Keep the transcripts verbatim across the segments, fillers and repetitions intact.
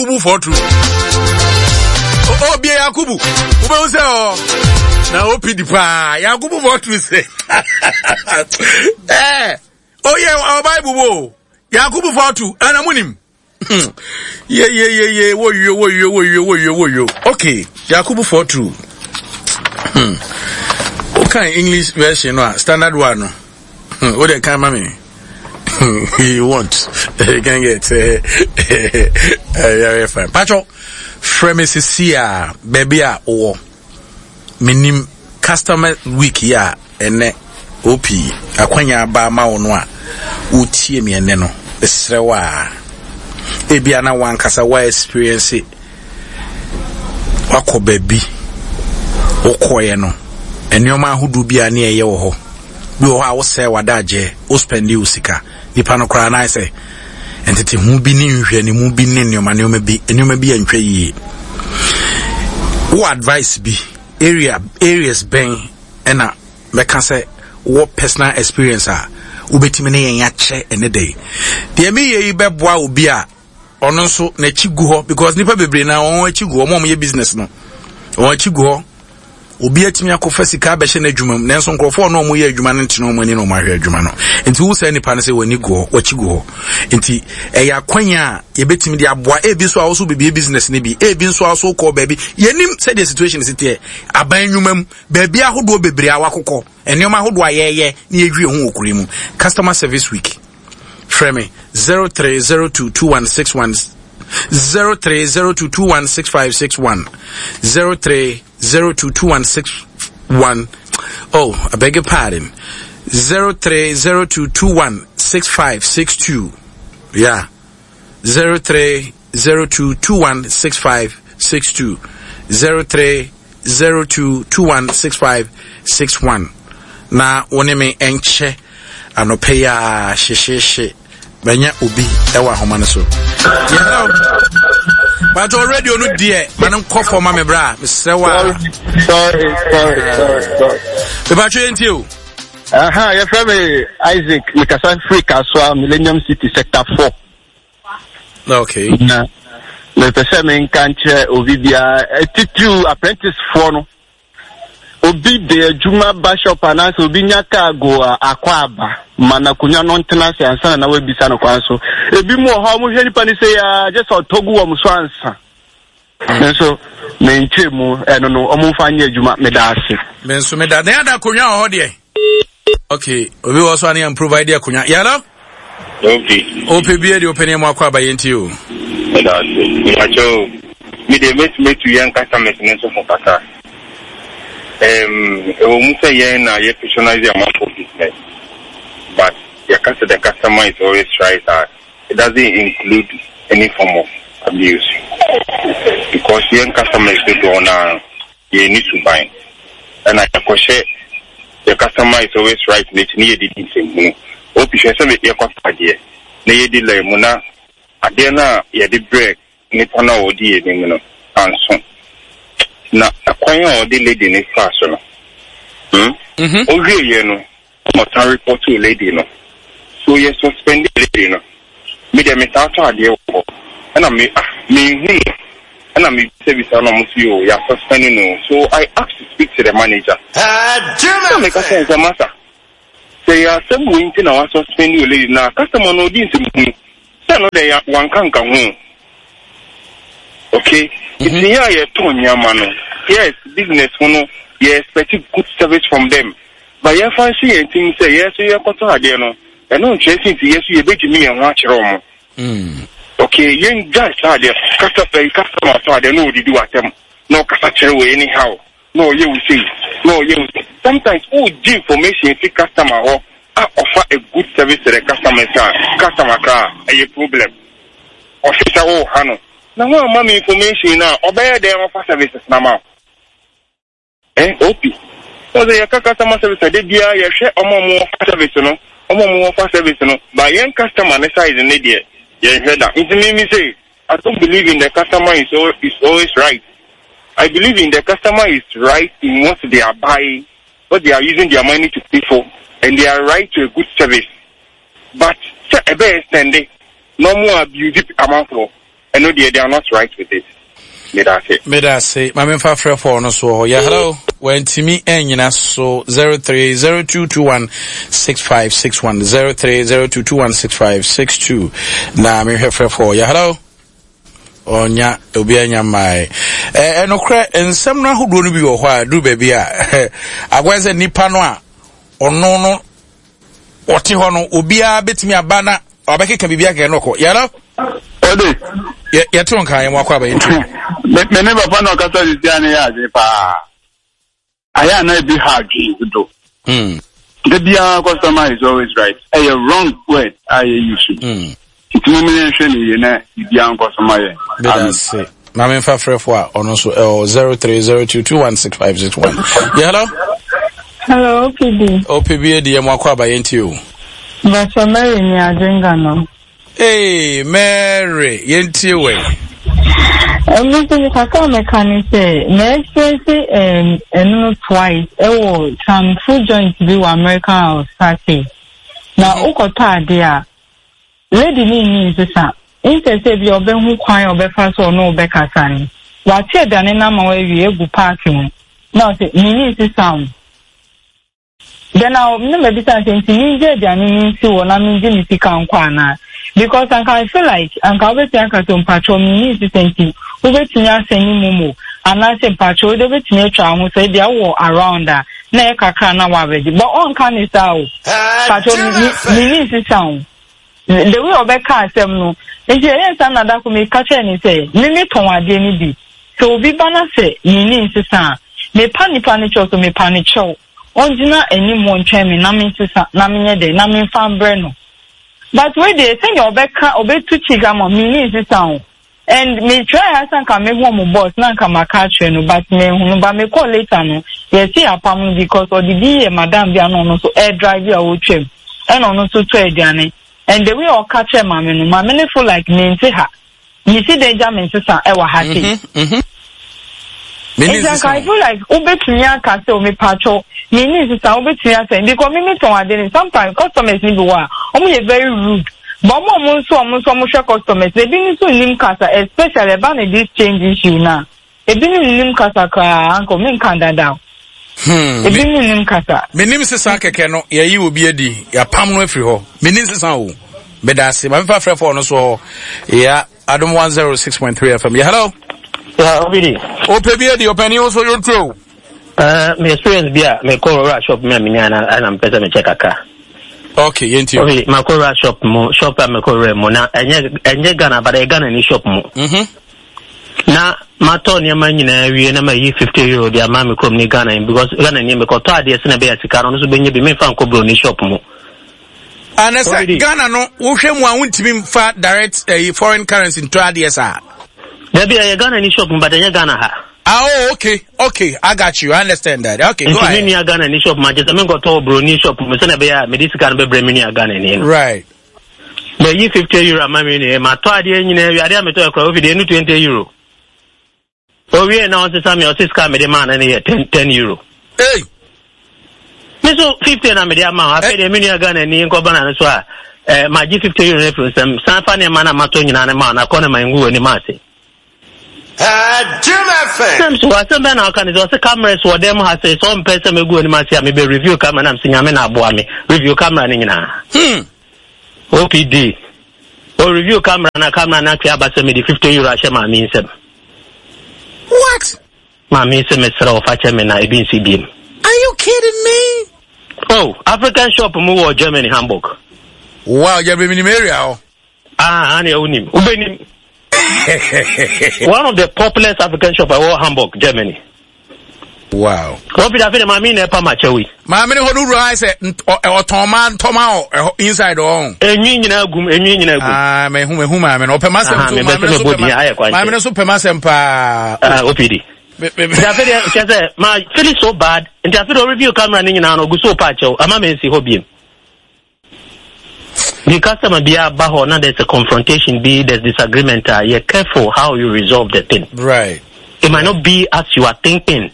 Yakubu four two. Oh, bie Yakubu. Wobɛhu sɛ ɔ na O P D paa Yakubu four two sɛ eh oh yeah, our Bible wo Yakubu four two ɛna mo nim ye ye ye ye wo yo wo yo wo yo wo yo wo yo. Okay, Yakubu four two. Hmm. Okay, English version no, standard one no. Hmm. What they can mami? You want? You can get. Uh, uh, fine. Pacho, frɛ me sisi a baabi a wowɔ menim customer week yi a ɛnɛ op akwanya aba ama wo no a wotie me ɛnɛ no, ɛsrɛ wo a ebia na wankasa wa experience wakɔ baabi wokɔɛ no, nneɛma ahodoɔ bi a ne ɛyɛ wɔ hɔ bi wɔ hɔ a wosɛe w'adagyeɛ, wo spend wo sika, nipa no koraa na ayɛ sɛ nteteho bi ne nhwɛnimu bi ne nneɛma nneɛma bi nneɛma bi antwa yie. Wo advice bi, area areas bɛn ɛna mɛka sɛ wɔ personal experience a wobɛtumi ne yɛn akyɛ ɛne dɛ deɛ meyɛ yi bɛboa obi a ɔno nso n'akyi gu hɔ? Because nipa bebree na wɔn akyi gu hɔ, wɔn a wɔyɛ business no, wɔn akyi gu hɔ. Obi atumi akɔfa sika abɛhyɛ n'adwuma mu, nanso nkurɔfoɔ no a wɔyɛ adwuma no ntena wɔn ani na wɔn ahwɛ adwuma no. Nti wo sɛ nipa no sɛ wɔn ani gu hɔ, wɔakyi gu hɔ, nti ɛyɛ akwanya a yɛbɛtumi de aboa. Ebi nso a wɔso bibie business no bi, ebi nso a wɔso kɔ baabi, yɛnim sɛdeɛ situation si teɛ, aban nnwuma mu, baabi ahodoɔ bebree a wakokɔ, nneɛma ahodoɔ a yɛyɛ na yɛdwie ho wɔ kuro mu. Customer service week, frɛ me zero three zero two two one six one, zero three zero two two one six five six one, zero three zero two two one six one, oh, I beg your pardon, zero three zero two two one six five six two. Yeah, zero three zero two two one six five six two, zero three zero two two one six five six one, na wo ne me nkyɛ anɔpɛ yi a hyehyehye bɛnya obi ɛwɔ ahoma no so. Hello, but radio no deɛ, ma no nkɔ fam ma me bra, mesrɛ wo a. Sorry, sorry, sorry, sorry. Mepatwo, yɛntie o. Aha, yɛfrɛ me Isaac, mekasa firi Kasoa, Millennium City, Sector four. Okay na mepɛ sɛ menka nkyerɛ obi biara, titiriw apprenticefoɔ no, obi de adwuma ba shop anaasɛ obi nya kaa go a akɔ aba ma na akonnwa no ntena ase ansa na na wabisa no kwan so. Ebi mu wɔ hɔ a wɔhwɛ nipa no sɛ ya gye sɛ ɔtɔ gu wɔn so ansa. Nso menkyerɛ mu ɛno no, ɔmo mfa nyɛ adwuma. Meda ase. Me nso meda na yɛada akonnwa wɔ hɔ deɛ. Okay, obi wɔ so a ne yɛn provide akonnwa. Yɛlɔ. Okay. Ope bie deɛ ɔpɛ ne mu akɔ aba, yɛntie o. Meda ase. Mepakyɛw, me deɛ mɛtumi atu yɛn customers no nso fo kakra. Um, ɛwɔ mu sɛ yɛn na yɛ patronize amanfo business, but yɛka sɛ the customer is always right a, it doesn't include any form of abuse. Because yɛn customers dodoɔ no yɛn ni suban. Ɛna yɛkɔhyɛ the customer is always right n'akyi ne yɛdidi nsɛmhunu. Opi hwɛ sɛ yɛkɔtɔ adeɛ na yɛdi line mu na adeɛ no a yɛde brɛ nipa no a ɔdi yɛn anim no anso na ɛkwan a ɔde lady no faa so no, hmm? Mhm. Owie yɛ no, ɔsan report to lady no so yɛ suspend lady no. Me deɛ, me saa tɔ adeɛ wɔ hɔ ɛna me ah me hu no ɛna me bisabisa na ɔmo si o, yɛ suspend no. So I asked to speak to the manager na meka sɛ nsɛ masa sɛ yɛ asɛm wei nti na wa suspend o lady na customer no ɔdi nsɛm hunu sɛ no deɛ wanka nka ho. Okay, nti yɛ a yɛtɔn nneɛma no, yes, business ho no, yɛ expect good service from them, but yɛfa nhyɛ yɛn tirim sɛ yɛ so yɛkɔtɔ adeɛ no, ɛno nkyerɛ sɛ nti yɛ so yɛbɛgyimi yɛn ho akyerɛ ɔmo. Okay, yɛn gyae saa adeɛ. Kasa ɛyi, customer tɔ adeɛ na ɔdidi w'atɛm na ɔkasa kyerɛ wɔ anyhow na ɔyɛ wo sei na ɔyɛ wo sei. Sometimes ɔgye information fi customer hɔ a ɔfa a good service to the customer a customer kra ɛyɛ problem. Ɔhwɛ sɛ ɔɔha no na ho ama me information na ɔbɛyɛ dɛn ɔfa services na ma wo eh opi ɔsɛ yɛka customer service ade biara, yɛhwɛ ɔmo a ɔmo wɔfa service no, ɔmo a ɔmo wɔfa service no ba yɛn customer ne side ne deɛ yɛnhwɛ da. Nti mi mi say I don't believe in the customer is, al is always right. I believe in the customer is right in what they are buying, what they are using their money to pay for, and they are right to a good service, but sɛ ɛbɛyɛ sɛnde na ɔmo abuse amanfoɔ. Ɛno deɛ, they are not right with it. Meda ase. Meda ase. Ma memfa frɛ fɔɔ no so wɔ hɔ. Yeah, hello. Wantumi anyina so. zero three zero two two one six five six one zero three zero two two one six five six two. Na mehwɛ frɛ fɔɔ. Yeah, hello. Ɔnya obi anya mmae. Ɛ ɛnokorɛ nsɛm no ahodoɔ no bi wɔ hɔ a duru baabi a akɔyɛ sɛ nipa no a ɔno no ɔte hɔ no obiara bɛtumi aba na ɔbɛkeka biribi akeka no ɔkɔ. Yeah, hello. Ɔde. Yɛ yɛte wo nka yɛn wakɔ aba yɛn ti. Me me ne papa na ɔkasa sisi a ne yɛ adwene paa. Ayɛ a na ebi ha adwene dodo. Mm. Da biara customer is always right. Ɛyɛ wrong word a yɛ use. Mm. Nti mo yɛn hwɛ ne yie na biribiara nkɔ so ma yɛn. Meda ase. Ma memfa frɛfo a ɔno nso ɛwɔ zero three zero two two one six five six one. Yeah, hello. Hello, O P B. O P B edi yɛ mo akɔ aba yɛn ti o. Bàtchɔ Mary ni Adwenga no. Hey, Mary, yɛn tie wɛ. Ɛno nso mi kakra a mɛka ne sɛ mɛ experience ɛno no twice ɛwɔ some food joint bi wɔ American House party. Na wokɔtɔ ade a, lady ne nni nsesa. Instead sɛ bi a ɔbɛhu kwan a ɔbɛfa so ɔno ɔbɛkasa no, wate aduane no ama wawie egu park mu. Na ɔsɛ menni nsesa o. Then I na mabisa sɛ nti mengye aduane no nsi hɔ na mengye me sika nkɔ anaa? Because anka I feel like anka wobɛtumi aka sɛ mpakyɛw menni nsesa nti wobɛtumi asɛne MoMo anaasɛ mpakyɛw wode wobɛtumi atwa wo ho sɛ ebia wowɔ around a na ɛyɛ kakra na woabɛgye, but ɔnka ne saa o. Mpakyɛw, menni nsesa o. The way ɔbɛka asɛm no nti ɛyɛ nsa na dako meka kyerɛ ne sɛ me metɔn adeɛ no bi, sɛ obi ba na sɛ menni nsesa a, mepa nipa no kyɛw, so mepa no kyɛw ɔngyina anim hɔ ntwɛn me na mensesa na menyɛ dɛn na memfa mbrɛ no. But wei deɛ, sɛnea ɔbɛka ɔbɛtu cheek ama menni nsesa o. And me try asa nka mehu ɔmo boss na nka maka akyerɛ no, but mehu no, but mekɔ later no, yɛsi apam no because ɔde bi yɛ madam bi a na ɔno nso ɛɛdrive a ɔretwam, ɛna ɔno nso tɔ aduane, and the way ɔka kyerɛ maame no, maame no feel like mente ha mesi dan gya me nsesa ɛwɔ ha sei. Nti anka I feel like wobɛtumi aka sɛ o mepatwɔ menni nsesa, wobɛtumi asɛn because me metɔn ade no, sometimes customers ni bi wɔ a ɔmo yɛ very rude, but ɔmo a ɔmo nso ɔmo nso ɔmo hwɛ customers na ebi nso nnim kasa, especially ɛba ne this change issue na ebi nnim kasa koraa anka menka dada. Hmm, ebi nnim kasa. Menim sesa kɛkɛ no yɛyi obi adi yɛapam no afiri hɔ. Menim sesa o. Meda ase. Ma memfa frɛ fɔ no so hɔ. Yeah, Adom one oh six point three F M. Yeah, hello. Yeah, Obidi. Opɛ bi adi ɔpɛni wo so yɛntie o. Uh, me experience bi a mekɔ rural shop mi a menya na ɛna mepɛ sɛ mekyɛ kakra. Okay, yɛntie o. Obi makɔ rural shop mu, shop a mekɔ rural mu na ɛnyɛ ɛnyɛ Ghana but ɛyɛ Ghana ni shop mu. Mhm. Na matɔ nneɛma nyinaa wie na mayi fifty euro de ama me kurom ne Ghana ni because Ghana ni mekɔtɔ adeɛ sɛ na ɛbɛyɛ sika no ɔno nso bɛnya bi, memfa nkɔ buroni shop mu. Ana sɛ Ghana no wohwɛ mu a wontumi mfa direct eh, foreign currency ntɔ adeɛ saa? Dabi, ɛyɛ Ghana ni shop mu but ɛnyɛ Ghana ha. Ah, oh, okay, okay, I got you. I understand that. Okay, go Nti me ahead. nua Ghana ni shop mu agye sɛ menkɔtɔ wɔ buroni shop mu sɛnɛ ɛbɛyɛ a mede sika no bɛbrɛ me nua Ghana ni no. Right. Mayi fifty euro ama me nua, matɔ adeɛ nyinaa wie, adeɛ a metɔ yɛ koraa ofi deɛ ɛnu twenty euro. Owie na ɔsesa me, ɔse sika a mede maa no no yɛ ten ten euro. Hey. Me so fifty na mede ama wo. Afei deɛ me nua Ghana ni nkɔba na no so a eh, magye fifty euro no afiri nsɛm san fa nneɛma no a matɔ nyinaa no ma wo na kɔ no ma ngu w'anim ase. Jim F M. Sɛm so asɛm bɛn na ɔka ne sɛ ɔsɛ cameras wɔ dɛm ha sɛ sɛ ɔmpɛ sɛ mɛgu anim ase a mebɛ review camera nam sɛ Nyame na aboa me review camera no nyinaa. Hmm. O P D o review camera na camera no atwe aba sɛ mede fifty euro ahyɛ maame nsɛm. What? Maame sɛ mesrɛ wo fa kyɛ me na ebi nsi biem. Are you kidding me? Oh, African shop mu wɔ Germany, Hamburg. Wow, yɛ bɛ minim area hɔ. Ah, ane wonim wobɛnim one of the populous African shop ɛwɔ Hamburg, Germany. Wow. Wɔfi afei de maame na ɛpa ma kyɛw yi. Maame ne hɔ no wura ayɛ sɛ nt- ɔ- ɛ- ɔtɔn ma ntɔma wɔ ɛhɔ inside hɔ. Enwi nyinaa gum, enwi nyinaa gum. Ah, mehu mehu maame no. Ɔpɛ m'asɛm Aha, so mebɛ maame sɛ no so mebɔ pɛ din, ayɛ ma kwan maame no so pɛ m'asɛm paa. Ah, O P D. Me- me- me- Nti afei deɛ kyɛ sɛ ma feel so bad, nti afei deɛ review camera ne nyinaa no ogu so pa akyɛw ama me nsi hɔ biem. The customer bi aba hɔ na there's a confrontation bi, there's disagreement a, yɛ careful how you resolve the thing. Right. It might not be as you are thinking.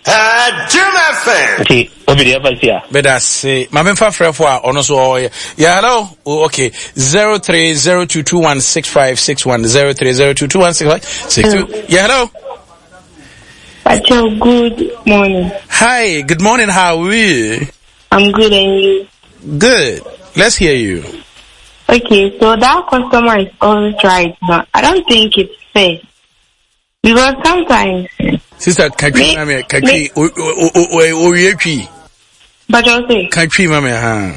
Jim F M. Nti obi deɛ ɛfa si a. Bɛda se maame nfa frɛfo a ɔno so ɔyɛ. Yeah, hello. Oh, okay. Zero three zero two two one six five six one zero three zero two two one six five six two. Yeah, hello. Pacho, good morning. Hi, good morning. How are you? I'm good, and you? Good. Let's hear you. Okay, so that customer is always right, but I don't think it's fair. Because sometimes... Sister, can you me? Can you... But I'll say... Can you me? Huh?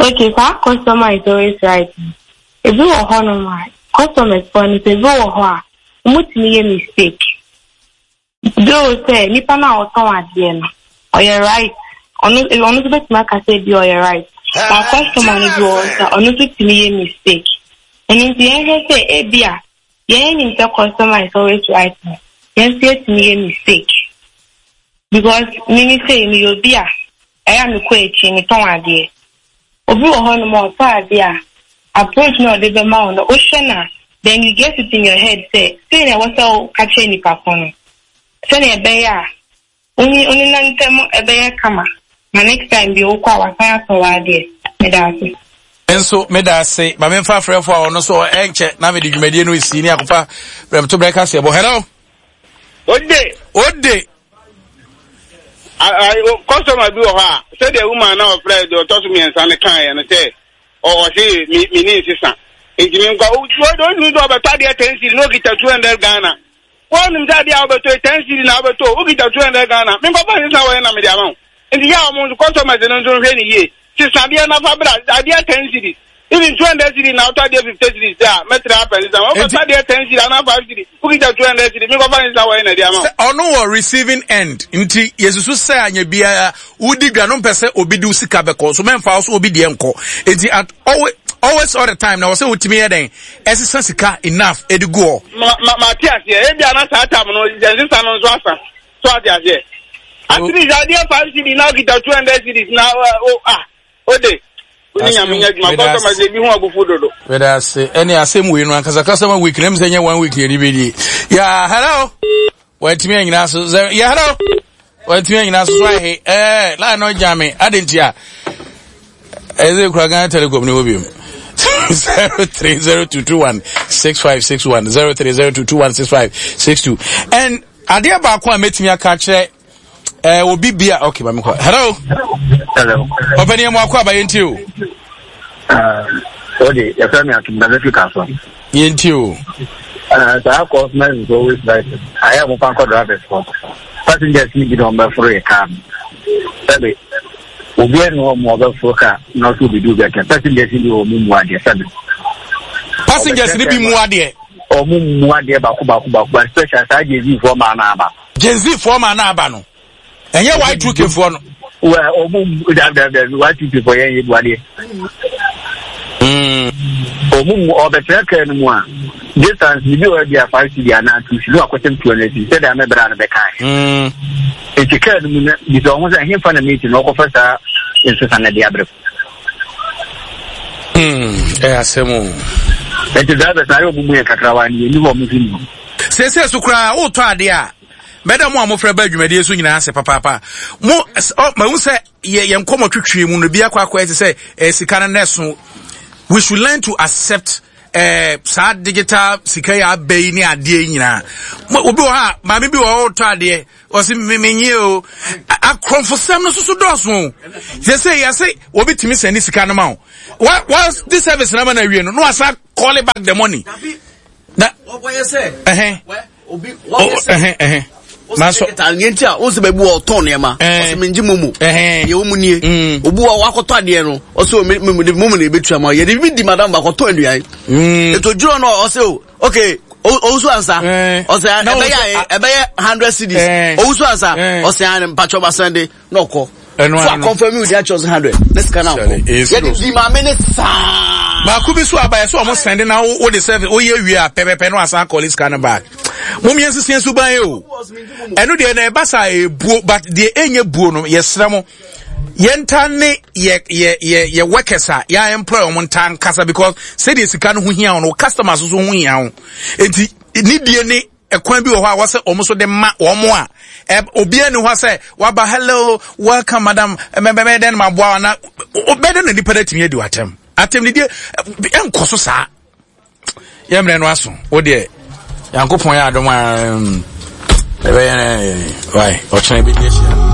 Okay, so our customer is always right. If you are home, customers, if you are home, you mistake. Though say, nipa na oton ade no, or right. Ono ono so betima ka say bi or right. But customer no bi o ono so timi mistake. And in the end say e bia, yen nim say customer is always right. Yen say timi mistake. Because me say me obi a, e ya me ko echi me ton ade. Obi wo ho no mo to ade a, approach no de be ma no, o hwe na, then you get it in your head say, say na wo say ka che nipa ko no. Send a bear. Only only nantem a bear kama. My next time be okwa wasaya so wade. Medase. Enso medase. Ma memfa frefo a ono so enche na me di dwumadie no esi ni akofa brem to breakfast bo. Hello. Ode. Ode. I customer bi wo ha. Say the woman na ofre do to so me ensa ne kan ye no say o o say me me ni sisa. Enti me nkwa o do do do beto ade ten cedi no kita two hundred Ghana. One that the Alberto ten cedi na Alberto, who get two hundred Ghana. Me papa is now na me dey amount. And ya omo customers no don't hwe ni ye. Sister bia na fa bra, adia ten cedi. Even two hundred cedi na out there fifty cedi there. Me try happen is am. Papa there ten cedi na five cedi. Who get two hundred cedi. Me papa is now na dey amount. Ono wo receiving end. Nti Yesusu say anya bia wudi dwa no pese obi di sika beko. So memfa so obi de enko. Enti at always always all the time now say utimi ye den esesa sika enough e di go ma ma ti ase e bia na saa tam no sesa no so asa so ati ase at least idea five cedi now get two hundred cedis now oh ah ode oni nyame nya dwuma customer say bi hu abufu dodo whether say any asem we no ankasa customer week na me say one week ni bi di yeah hello watimi anyina so yeah hello watimi anyina so so he eh la no jame adentia eze kura Ghana Telecom ni obi zero three zero two two one six five six one zero three zero two two one six five six two. And adeɛ baako a metumi aka kyerɛ eh obi bia okay mami kɔ. Hello. Hello. Opani mu akɔ aba yenti o. Ah, odi ya fami atum da Africa so. Yenti o. Ah, that customer is always right. I am open for drivers for. Passengers ni bi don be for a car. Sabe. Obi no mo be for car na so bi do be passengers ni o mu mu ade sabe. Passengers ni bi mu ade. O mu mu ade ba ko ba ko ba ko special sa Gen Z for ma na aba. Gen Z for ma na aba no. Enye Y two K for no. Well, o mu da da da Y two K for yen ye bu ade. Mm. O mu mu o be trek no mu a. Distance ni bi o dia five cedi ana two cedi no akotem two hundred cedi said am bra na be kan. Mm. Eti ka no mu na bi so ho say hemfa na meeting no ko fa sa nso na dia bre. Mm, eh asemu. Eti drivers na yo mu ye kakrawa ni ni ho mu fi ni. Se se so kra wo to ade a. Meda mo amofra ba dwumadie so nyina ase papa. Mo ma hu se ye ye nkomo twetwe mu no bi akwa akwa eti se sika na neso. We should learn to accept eh sa digital sika ya bei ni ade nyina. Obi wo ha ma me bi wo to ade o se me menye o akromfosem no soso doso. They say ya say obi timi send sika no ma wo. Once this service na ma na wie no no asa call back the money. Na what you say? Eh obi what you say? Eh eh maso nti a wonse babu o ton ne ma o se menji momo ye wo mu nie obu wa akoto ade no o se me momo na ebetua ma ye de bi di madam ba akoto aduan eto duro no o se okay o so ansa o se ebeye ebeye one hundred cedis o so ansa o se an mpacho ba Sunday no ko so confirm you dey choose one hundred next can now ye di ma me ne sa ba ku bi so aba ye so o send na wo the service o ye wi a pepepe no asan call this kind back. Mum yensi sensu ban ye o. Eno de na eba sa ebuo but de enye buo no yesra mo. Yenta ne ye ye ye ye workers a ya employ mo ntan kasa because say de sika no ho hia no customers so ho hia ho. Enti ni die ne ɛkwan bi wɔ hɔ a wɔsɛ wɔn so de ma wɔn a obiara ni hɔ sɛ waba hello welcome madam mɛbɛbɛ dɛn ma boa na ɔbɛdɛ na nipa dɛ tumi adi w'atɛm atɛm didie ɛnkɔ so saa yɛ mmerɛ no aso wo deɛ Nyankopɔn yɛ adom a ɛbɛyɛ wai ɔkyena bɛdi ahyia.